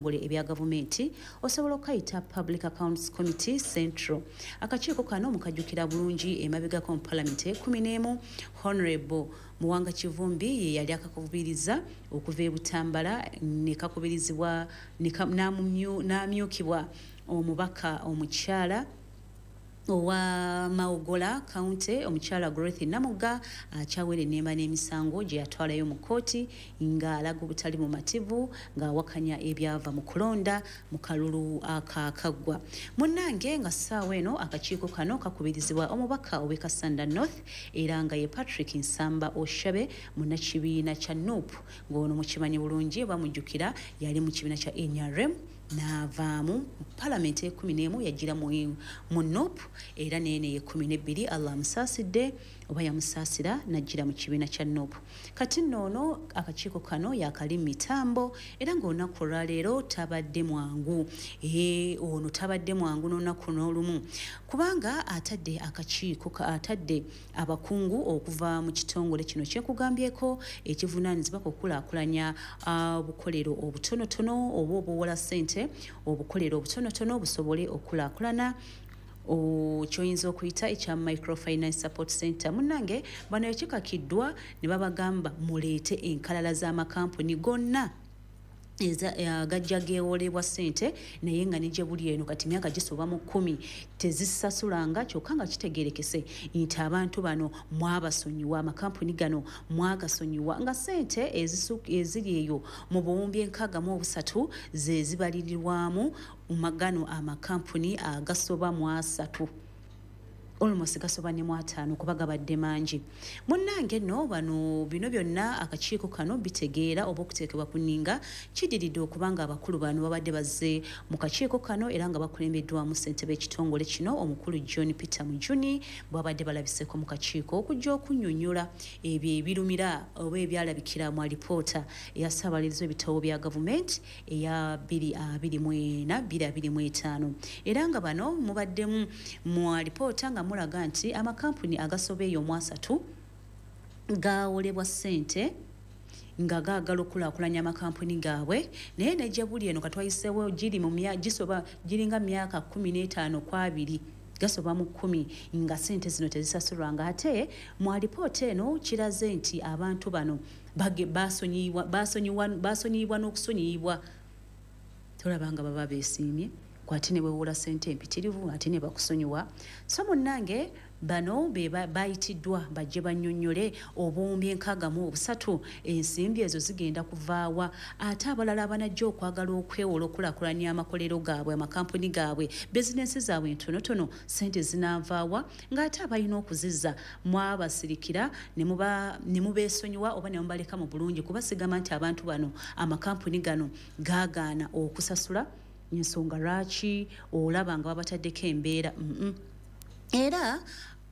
Ebitongole ebya gavumenti osobola okukayita Public Accounts Committee Central. Akakiiko kano mukajjukira bulungi, emabegako mu Palamenti 11, Honorable Muwanga Kivumbi ye yali akakubiriza okuva e Butambala, ne kakubirizibwa n'amyukibwa omubaka omukyala owa Mawogola County, omukyala Gorreth Namugga, akyawera ennemba n'emisango gye yatwalayo mu kkooti ng'alaga obutali mumativu, ng'awakanya ebyava mu kulonda mu kalulu akakaggwa. Munnange, nga ssaawa eno akakiiko kano kakubirizibwa omubaka ow'e Kassanda North, era nga ye Patrick Nsamba Oshabe, munnakibiina kya NUP, ng'ono mukimanyi bulungi, bamujjukira yali mu kibiina kya NRM n'avaamu. Palamenti 11 yagira mu NUP, era neene 12 Allah amusaasidde oba yamusaasira n'ajjira mu kibiina kya NUP. Kati nno ono akakiiko kano yakali mitambo, era ng'olunaku olwaleero tabadde mwangu. Ee, ono tabadde mwangu n'olunaku n'olumu, kubanga atadde akakiiko, atadde abakungu okuva mu kitongole kino kyekugambyeko ekivunaanyizibwa ku kukulaakulanya obukolero obutonotono oba obuwola ssente, obukolero obutonotono busobole okukulaakulana, kyoyinza okuyita ekya Microfinance Support Center. Munnange, bano ekikakiddwa ne babagamba muleete enkalala z'amakampuni gonna gajja geewolebwa ssente, naye nga ne gye buli eno kati myaka gisoba mu 10 tezisasulanga, kyokka nga kitegerekese nti abantu bano mwabasonyiwa, amakampuni gano mwagasonyiwa, nga ssente eziri eyo mu 6,063 ze zibalirirwamu gano amakampuni agasoba mu 30, almost gasoba ne mu 50, kuba gabadde mangi. Munnange nno bano bino byonna akakiiko kano bitegeera oba okuteekebwa ku nninga kidiridde okubanga abakulu bano babadde bazze mu kakiiko kano, era nga bakulembeddwamu ssentebe ekitongole kino, omukulu John Peter Mujuni, bwabadde balabiseeko mu kakiiko okujja okunnyonnyola ebyo ebirumira oba ebyalabikira mu alipoota eya ssaababalirizi w'ebitabo bya gavumenti eya 2024 2025. Era nga bano mubaddemu mu alipoota nga mulaga nti amakampuni agasoba eyo mu 30 gawolebwa ssente nga gaagala okukulaakulanya amakampuni gaabwe, naye ne gye buli eno katwayiseewo giri mu gisoba giringa myaka 15 ku 20, gasoba mu 10, nga ssente zino tezisasulwa, nga ate mu alipoota eno kiraze nti abantu bano basonyiyibwa n'okusonyiyibwa. Tolaba nga baba beesiimye kwate ne weewola ssente empitirivu ate ne bakusonyiwa? So munnange, bano be bayitiddwa bajje bannyonnyole 6,063 ensimbi ezo zigenda kuvaawa, ate abalala abanajja okwagala okwewola okukulaakulanya amakolero gaabwe, amakampuni gaabwe, bizinensi zaabwe entonotono, ssente zinaavaawa, ng'ate abalina okuzizza mwabasirikira ne mubeesonyiwa oba ne mubaleka mu bulungi? Kuba sigamba nti abantu bano, amakampuni gano gaagaana okusasula, ensonga lwaki olaba nga babataddeko embeera. Era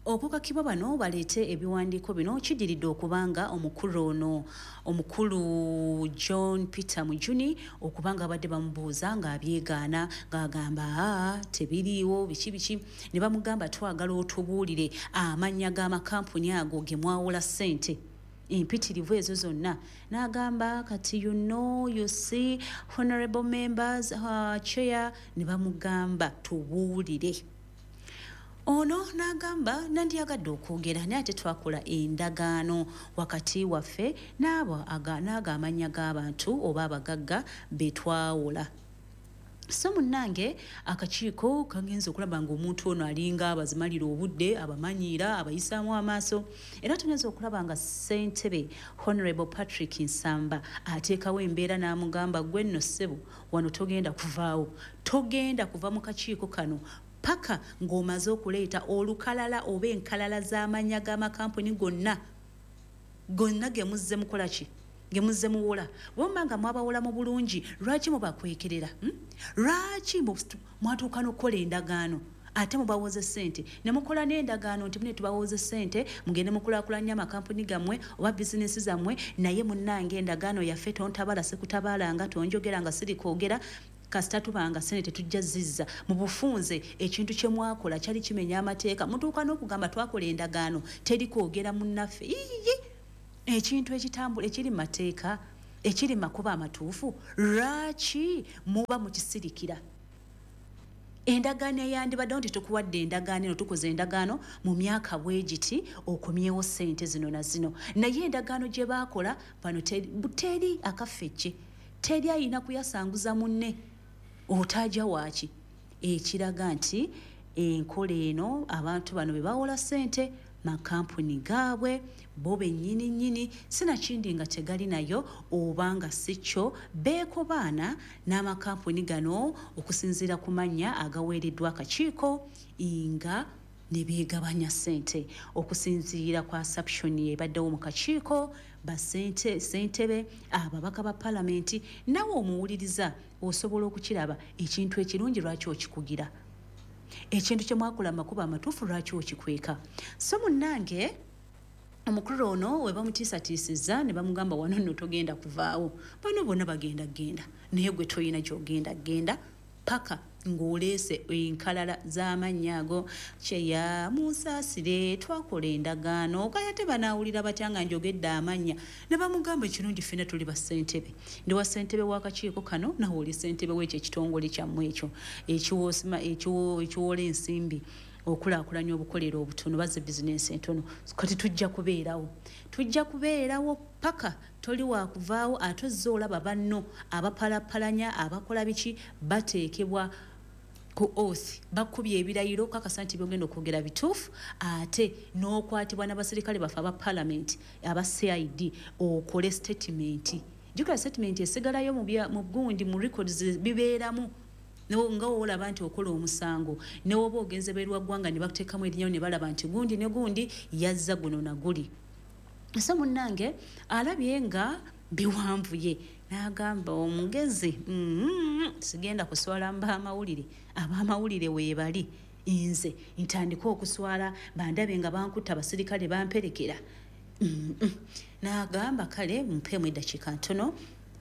okukakibwa bano baleete ebiwandiiko bino kidiridde okubanga omukulu ono, omukulu John Peter Mujuni, okubanga abadde bamubuuza ng'abyegaana, ng'agamba, "Aa, tebiriiwo, biki biki." Ne bamugamba, "Twagala otubuulire amannya g'amakampuni ago ge mwawola ssente empitirivu ezo zonna." N'agamba, "Kati you know, you see, honorable members, chair." Ne bamugamba, "Tubuulire." Ono n'agamba, "Nandyagadde okwogera, naye ate twakola endagaano wakati waffe n'abo n'ago amannya g'abantu oba abagagga be twawola." So munnange, akakiiko kagenza okulaba ng'omuntu ono alinga abazimalira obudde, abamanyiira, abayisaamu amaaso, era tugenza okulaba nga ssentebe Honorable Patrick Nsamba ateekawo embeera n'amugamba, "Gwe nno ssebo, wano togenda kuvaawo, togenda kuva mu kakiiko kano paka ng'omaze okuleeta olukalala oba enkalala z'amannya g'amakampuni gonna gonna ge muzze mukola ki, ge muzze muwola. Bwemba nga mwabawola mu bulungi, lwaki mubakwekerera, Lwaki mwatuuka n'okukola endagaano ate mubawoze ssente, ne mukola n'endagaano nti mune tubawoze ssente mugende mukulaakulanya amakampuni gammwe oba bizinesi zammwe, naye munnange endagaano yaffe tontabala sikutabaalanga, tonjogera nga siri kwogera, kasita tubanga ssente tetujja zizza." Mu bufunze ekintu kye mwakola kyali kimenya amateeka. Mutuuka n'okugamba, "Twakola endagaano, teri kwogera munnaffe." Iyiyi, ekintu ekitambula ekiri mu mateeka. Ekiri makuba amatuufu, lwaki muba mukisirikira? Endagaano eyandibaddewo nti tukuwadde endagaano eno, tukoze endagaano mu myaka bwe giti, okomyewo ssente zino na zino. Naye endagaano gye baakola bano teri akafecce, teri ayina kuyasanguza munne, otaaja waaki? Ekiraga nti enkola eno abantu bano be bawola ssente makampuni gaabwe bo bennyini nnyini, sinakindi nga tegali nayo oba nga si kyo beekobaana n'amakampuni gano okusinziira ku mannya agaweereddwa akakiiko nga ne beegabanya ssente. Okusinziira ku assumption ebaddewo mu kakiiko, ssentebe, ababaka ba palamenti, nawe omuwuliriza osobola okukiraba ekintu ekirungi lwaki okikugira, ekintu kye mwakola amakubo amatuufu lwaki okikweka. So munnange omukulu ono we bamutiisatiisizza ne bamugamba wano nno togenda kuvaawo, bano bonna bagenda genda, naye gwe toyina gy'ogenda genda paka ng'oleese enkalala z'amannya ago. Kyeya munsaasire, twakola endagaano, kaya tebanaawulira batya nga njogedde amannya? Ne bamugamba ekirungi ffenna tuli bassentebe, ndi wa ssentebe w'akakiiko kano, nawe oli ssentebe w'ekyo ekitongole kyammwe ekyo ekiwoola ensimbi okulaakulanya obukolero obutono, bazze bizinensi entono. Kati tujja kubeerawo, tujja kubeerawo paka toli wakuvaawo. Ate ozze olaba banno abapalapalanya abakola biki bateekebwa ku oath, bakubye ebirayiro kakasa nti byogenda okwogera bituufu, ate n'okwatibwa n'abasirikale baffe aba palamenti aba CID okole statement. Jjukira statement esigalayo mu gundi, mu records bibeeramu nga woolaba nti okola omusango, ne woba ogenze beerwa ggwanga ne bakuteekamu erinnya ne balaba nti gundi ne gundi yazza guno na guli. So munnange alabye nga biwanvuye n'agamba omugezi, sigenda kuswala mbaamawulire, ab'amawulire weebali, nze ntandike okuswala bandabe nga bankutta abasirikale bamperekera. N'agamba kale mpeemu eddakiika ntono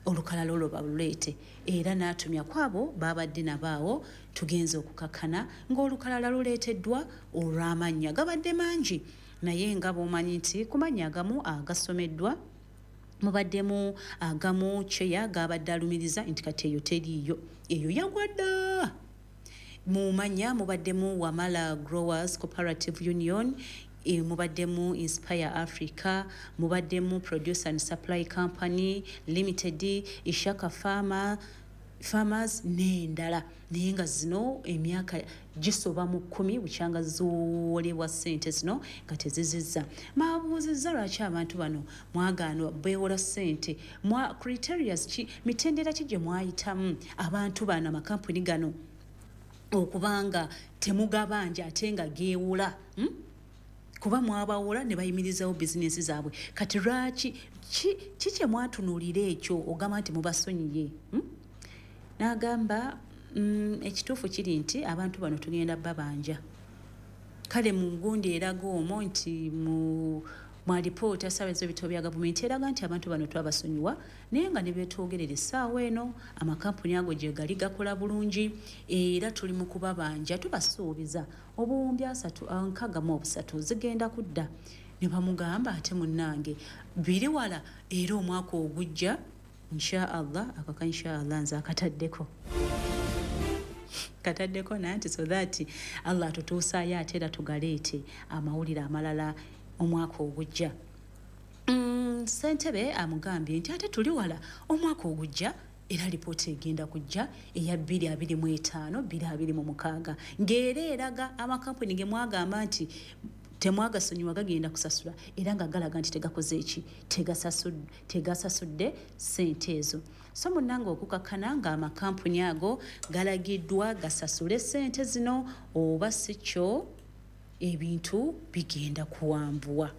olukalala olwo baluleete, era n'atumya kwabo babadde nabaawo. Tugenze okukakkana ng'olukalala luleeteddwa olw'amannya gabadde mangi, naye nga bw'omanyi nti ku mannya agamu agasomeddwa mubaddemu agamu kyeya gabadde alumiriza nti kati eyo teriiyo, eyo yagwa dda. Mu mannya mubaddemu Wamala Growers Cooperative Union, mubaddemu Inspire Africa, mubaddemu Produce and Supply Company Limited, Ishaka Farmers n'endala, naye nga zino emyaka gisoba mu 10 bukyanga ziwolebwa ssente zino nga tezizizza. Mabuuzizza lwaki abantu bano mwagaana beewola ssente, mwa criterias ki, mitendera ki gye mwayitamu abantu bano amakampuni gano okubanga temugabanja ate nga geewola, Kuba mwabawola ne bayimirizawo bizinensi zaabwe. Kati lwaki ki kye mwatunuulira ekyo ogamba nti mubasonyiye? N'agamba ekituufu kiri nti abantu bano tugenda babanja. Kale mu gundi eraga omwo nti mu alipoota ssaabawolereza w'ebitabo bya gavumenti eraga nti abantu bano twabasonyiwa, naye nga ne beetwogerera essaawa eno amakampuni ago gye gali gakola bulungi, era tuli mu kubabanja, tubasuubiza obuwumbi 363 zigenda kudda. Ne bamugamba ate munnange biri wala, era omwaka ogujja insha Allah, akaka insha Allah nze akataddeko kataddeko nanti, so that Allah atutuusaayo ate era tugaleete amawulire amalala omwaka ogujja. Ssentebe amugambye nti ate tuli wala, omwaka ogujja era lipoota egenda kujja eya 2025 2026 ng'era eraga amakampuni ge mwagamba nti temwagasonyiwa gagenda kusasula, era nga galaga nti tegakoze eki, tegasasudde ssente ezo. So munnange okukakkana ng'amakampuni ago galagiddwa gasasule ssente zino oba si kyo ebintu bigenda kuwanvuwa.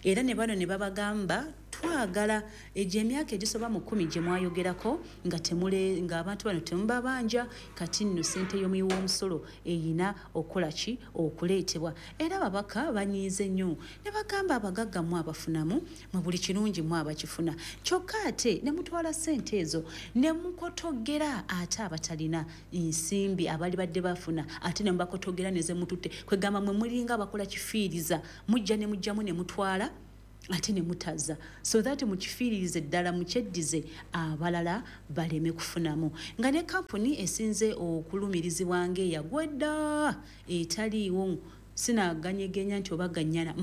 Era ne bano ne babagamba twagala egyo emyaka egisoba mu 10 gye mwayogerako nga temule, ng'abantu bano temubabanja, kati nno ssente y'omuwi w'omusolo eyina okukola ki, okuleetebwa. Era ababaka banyiize nnyo ne bagamba abagagga mmwe abafunamu, mwe buli kirungi mmwe abakifuna, kyokka ate ne mutwala ssente ezo ne mukotogera ate abatalina nsimbi abali badde bafuna, ate ne mubakotogera ne ze mututte. Kwegamba mwe mulinga abakola kifiiriza, mujja ne mujjamu ne mutwala, Ate ne mutaza so that mukifiiririze ddala, mukyeddize abalala baleme kufunamu. Nga ne kampuni esinze okulumirizibwa ng'eyagwa dda, etaliiwo, sinaganyegenya nti oba ganyana,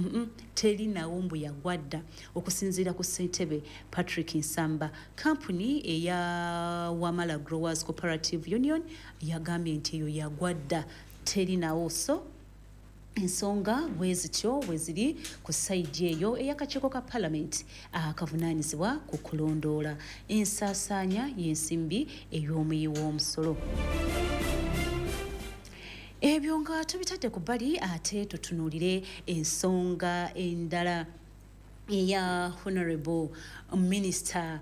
teri nawo, mbu yagwa dda. Okusinziira ku ssentebe Patrick Nsamba, kampuni eya Wamala Growers Cooperative Union, yagambye nti eyo yagwa dda, teri nawo. So ensonga bwe zityo bwe ziri ku side eyo ey'akakiiko ka palamenti akavunaanyizibwa ku kulondoola ensaasaanya y'ensimbi ey'omuyi w'omusolo. Ebyo nga tubitadde ku bbali, ate tutunuulire ensonga endala eya Honorable Minister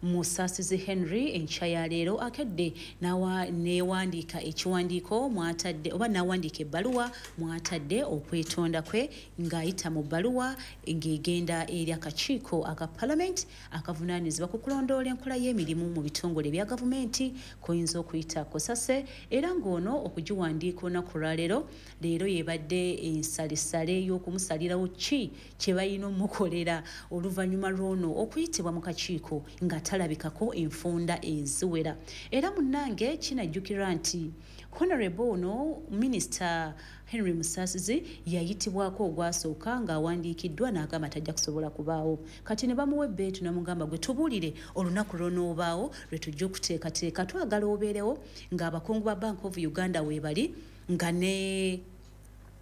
Musasizi Henry. Enkya ya leero akedde newandiika ekiwandiiko mwatadde, oba nawandiika ebbaluwa mwatadde okwetonda kwe, ng'ayita mu bbaluwa ng'egenda eri akakiiko aka palamenti akavunaanyizibwa ku kulondoola enkola y'emirimu mu bitongole ebya gavumenti, koyinza okuyita COSASE. Era ng'ono okugiwandiika olunaku lwaleero, leero yebadde ensalesale y'okumusalirawo ki kye balina omukolera oluvannyuma lw'ono okuyitibwa mu kakiiko nga talabikako enfunda eziwera. Era munnange, kinajjukirwa nti Honorable ono Minisita Henry Musasizi yayitibwako ogwasooka ng'awandiikiddwa n'agamba tajja kusobola kubaawo. Kati ne bamuwa ebbeetu, namugamba, "Gwe tubuulire olunaku lw'onoobaawo lwe tujja okuteekateeka. Twagala obeerewo ng'abakungu ba Bank of Uganda weebali, nga ne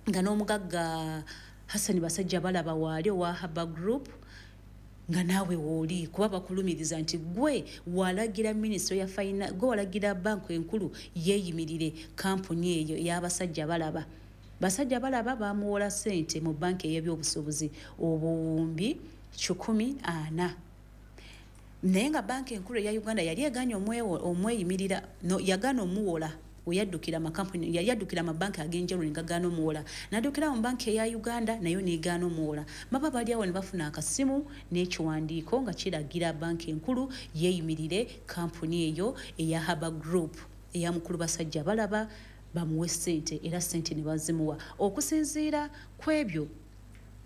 nga n'omugagga Hassan Basajja Balaba waali owa Haba Group, nga naawe wooli, kuba bakulumiriza nti gwe walagira minisitule ya finance, gwe walagira banka enkulu yeeyimirire kampuni eyo ey'abasajja balaba." Basajja Balaba bamuwola ssente mu banka ey'ebyobusuubuzi obuwumbi 140, naye nga banka enkulu eya Uganda yali eganye omweyimirira, no, yagaana omuwola. Weyaddukira amakampuni, yali yaddukira amabanki ag'enjawulo ne gagaana omuwola, n'addukira mu banki eya Uganda, nayo negaana omuwola. Baba bali awo ne bafuna akasimu n'ekiwandiiko nga kiragira banki enkulu yeeyimirire kampuni eyo eya Haba Group eya mukulu Basajja Balaba, bamuwe ssente. Era ssente ne bazimuwa okusinziira ku ebyo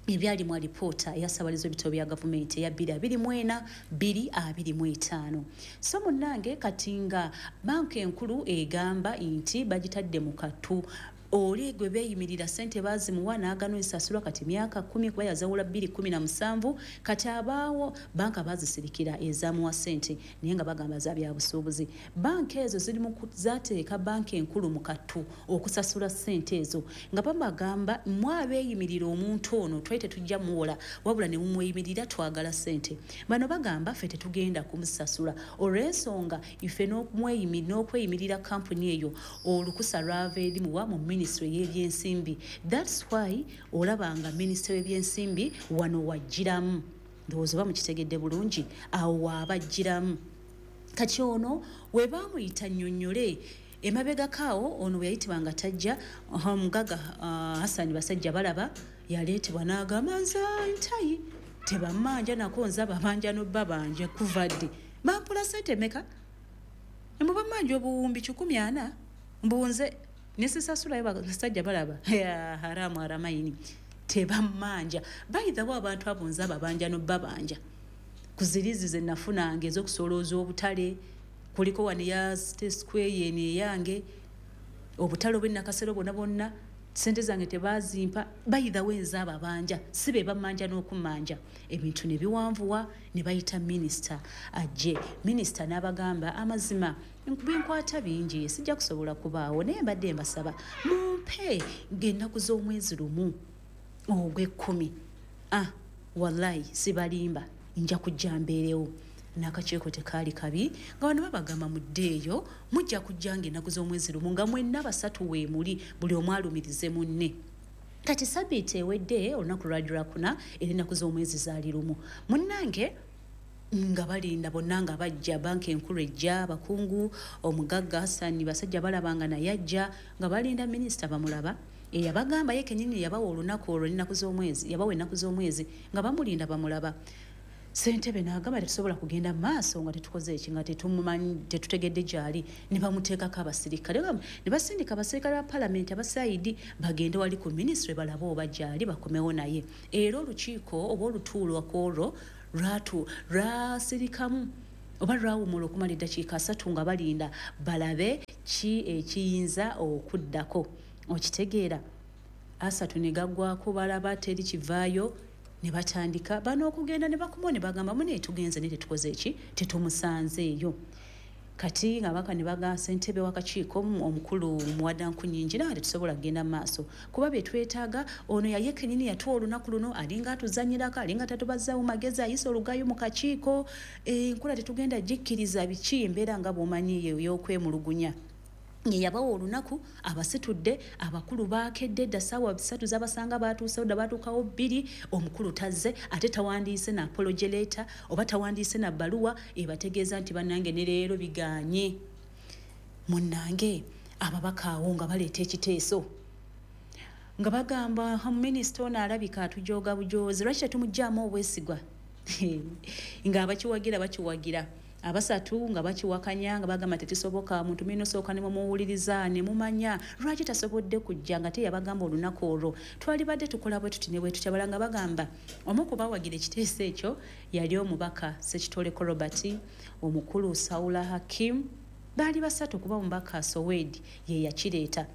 ebyali mu alipoota eyasabaliza ebitabo bya gavumenti eya 2024 2025. So munnange, kati nga banka enkulu egamba nti bagitadde mu kattu, oli gwe beeyimirira ssente baazimuwa n'agano esasulwa kati myaka 10, kuba yazawula 2017. Kati abaawo banka baazisirikira ezamuwa ssente, naye nga bagamba za byabusuubuzi. Banka ezo ziri mu zateeka banka enkulu mu kattu okusasula ssente ezo, nga babagamba, "Mwe abeeyimirira omuntu ono, twali tetujja muwola, wabula ne mumweyimirira, twagala ssente." Bano bagamba, "Ffe tetugenda kumusasula olw'ensonga ife n'okweyimirira kampuni eyo olukusa lwava eri muwa mu minisitule y'ebyensimbi." That's why olaba nga minisitule y'ebyensimbi wano wagiramu. Ndowooza oba mukitegedde bulungi, awo waabagiramu. Kati ono we baamuyita nnyonnyole emabegakaawo, ono bwe yayitibwa nga tajja, omugaga Hasani Basajja Balaba yaleetebwa n'agamba, "Nze ntayi tebammanja nako, nze ababanja nobbabanja kuva ddi? Bampula sente meka? Emubamanja obuwumbi 140, mbunze nesisasulayo. Basajja Balaba haramu haramayini, tebammanja." Bayithawo abantu abo nze ababanja nobbabanja ku zirizi ze nafunanga ez'okusolooza obutale. Kuliko wano eya Square yeno eyange, obutale obw'enakasero bwonna bwonna, sente zange tebazimpa. Bayithawo enze ababanja si be bammanja n'okummanja. Ebintu ne biwanvuwa, ne bayita minisita ajje. Minisita n'abagamba, "Amazima binkwata bingi, sijja kusobola kubaawo, naye mbadde mbasaba mumpe ng'ennaku z'omwezi 1 ogw'ekkumi. Ah, wallahi sibalimba, nja kujja mbeerewo." N'akakiiko tekaali kabi, nga bano babagamba, "Muddeeyo, mujja kujja nga ennaku z'omwezi 1, nga mwenna basatu weemuli, buli omu alumirize munne." Kati sabiiti ewedde, olunaku lwali lwakuna, era ennaku z'omwezi zaali 1. Munnange, nga balinda bonna nga bajja, banka enkulu ejja, abakungu, omugagga Hasani Basajja Balaba nga naye ajja, nga balinda minisita bamulaba eyabagamba ye kenyini yabawa olunaku olwo n'ennaku z'omwezi, yabawa ennaku z'omwezi, nga bamulinda bamulaba. Ssentebe n'agamba tetusobola kugenda mu maaso nga tetukoze eki, nga tetumumanyi, tetutegedde gy'ali. Ne bamuteekako abasirikale, ne basindika abasirikale ba palamenti aba CID bagende wali ku minisitule balabe oba gy'ali, bakomewo naye. Era olukiiko oba olutuulo kwolwo lwasirikamu oba lwawumula okumala eddakiika 30 nga balinda balabe ki ekiyinza okuddako. Okitegeera, 30 ne gaggwako, balaba teri kivaayo, ne batandika bano okugenda ne bakuma ne bagamba mune tugenze ne tetukoze eki, tetumusanzeeyo. Kati nga baka ne baga ssentebe w'akakiiko omukulu Muwada Nkunyingi, naye tetusobola kugenda mu maaso kuba bye twetaaga ono yaye kennyini yatuwa olunaku luno, alinga atuzannyirako, alinga tatubazzaawo magezi, ayisa olugayo mu kakiiko, enkola tetugenda gikkiriza biki, embeera nga bw'omanyi ey'okwemulugunya. Ye yabawa olunaku, abasitudde abakulu baakedde dda, ssaawa 3 zabasanga baatuusewo dda, baatuukawo 2, omukulu tazze, ate tawandiise na apology letter oba tawandiise na bbaluwa ebategeeza nti bannange ne leero bigaanye. Munnange ababaka awo nga baleeta ekiteeso nga bagamba minisita ono alabika atujooga bujoozi, lwaki tetumuggyaamu obwesigwa? Ng'abakiwagira bakiwagira, abasatu nga bakiwakanya nga bagamba tekisoboka, muntu mulina osooka ne mumuwuliriza ne mumanya lwaki tasobodde kujja, nga teyabagamba olunaku olwo twalibadde tukola bwe tuti ne bwe tutya. Balala nga bagamba omu ku bawagira ekiteeso ekyo yali omubaka Ssekitoleko Robert, omukulu Saula Hakim, baali basatu kuba omubaka Sowed ye yakireeta,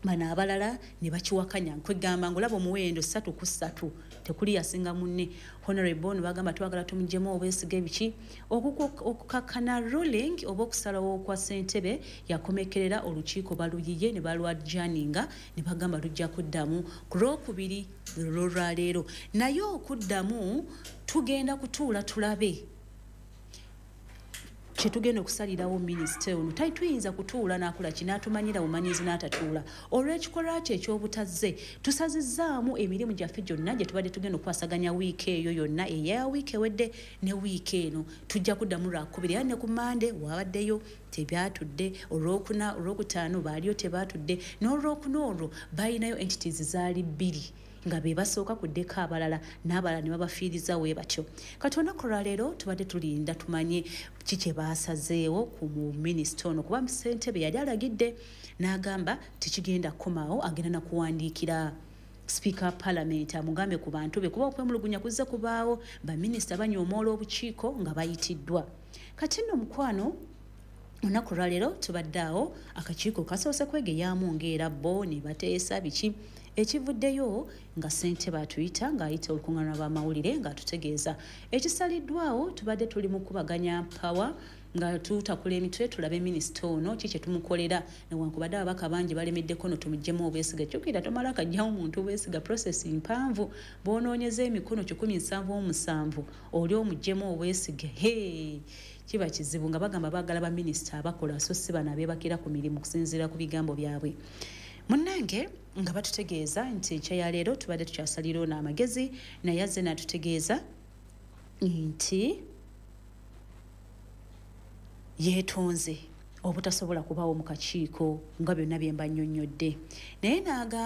bano abalala ne bakiwakanya. Nkwegamba ng'olaba omuwendo 3 ku 3, tekuli yasinga munne. Honorable ono bagamba twagala tumugyemu obwesige biki. Okukakkana ruling oba okusalawo kwa ssentebe yakomekerera olukiiko baluyiye ne balwajaninga ne bagamba lujja kuddamu ku Lwokubiri lwolwaleero, naye okuddamu tugenda kutuula tulabe kyetugenda okusalirawo minisita ono. Tuyinza kutuula n'akola ki, n'atumanyira bumanyizi n'atatuula. Olw'ekikolwa kye eky'obutazze, tusazizzaamu emirimu gyaffe gyonna gye tubadde tugenda okukwasaganya wiiki eyo yonna, eya wiiki ewedde ne wiiki eno. Tujja kuddamu Lwakubiri, era ne ku Mande wabaddeyo tebyatudde, Olwokuna, Olwokutaano baaliyo tebaatudde, n'Olwokuna olwo balinayo entities zaali 2 nga be basooka kuddeko abalala, n'abalala ne babafiiriza we batyo. Kati olunaku lwaleero tubadde tulinda tumanye ki kye baasazeewo ku minisita ono, kuba ssentebe yali alagidde n'agamba tekigenda kukomaawo, agenda nakuwandiikira sipiika wa palamenti amugambe ku bantu be, kuba okwemulugunya kuzze kubaawo, baminisita banyoomoola obukiiko nga bayitiddwa. Kati nno mukwano, olunaku lwaleero tubadde awo, akakiiko kasoose kwegeyaamu ng'era bo ne bateesa biki ekivuddeyo, nga ssentebe atuyita ng'ayita olukuŋŋaana lw'amawulire ng'atutegeeza ekisaliddwawo. Tubadde tuli mu kubaganya mpawa nga tutakula emitwe tulabe minisita ono ki kye tumukolera, newankubadde ababaka bangi balemeddeko no tumuggyemu obwesiga. Jjukira tomala kajjawo muntu bwesiga, process mpanvu, bw'onoonyeza emikono 177 oli omuggyemu obwesige, he kiba kizibu. Nga bagamba baagala baminisita abakola so si bano abeebakira ku mirimu, okusinziira ku bigambo byabwe. Munnange nga batutegeeza nti enkya ya leero tubadde tukyasalira ono amagezi, naye azze n'atutegeeza nti yeetonze obutasobola kubaawo mu kakiiko nga byonna bye mba nnyonnyodde, naye n'agamba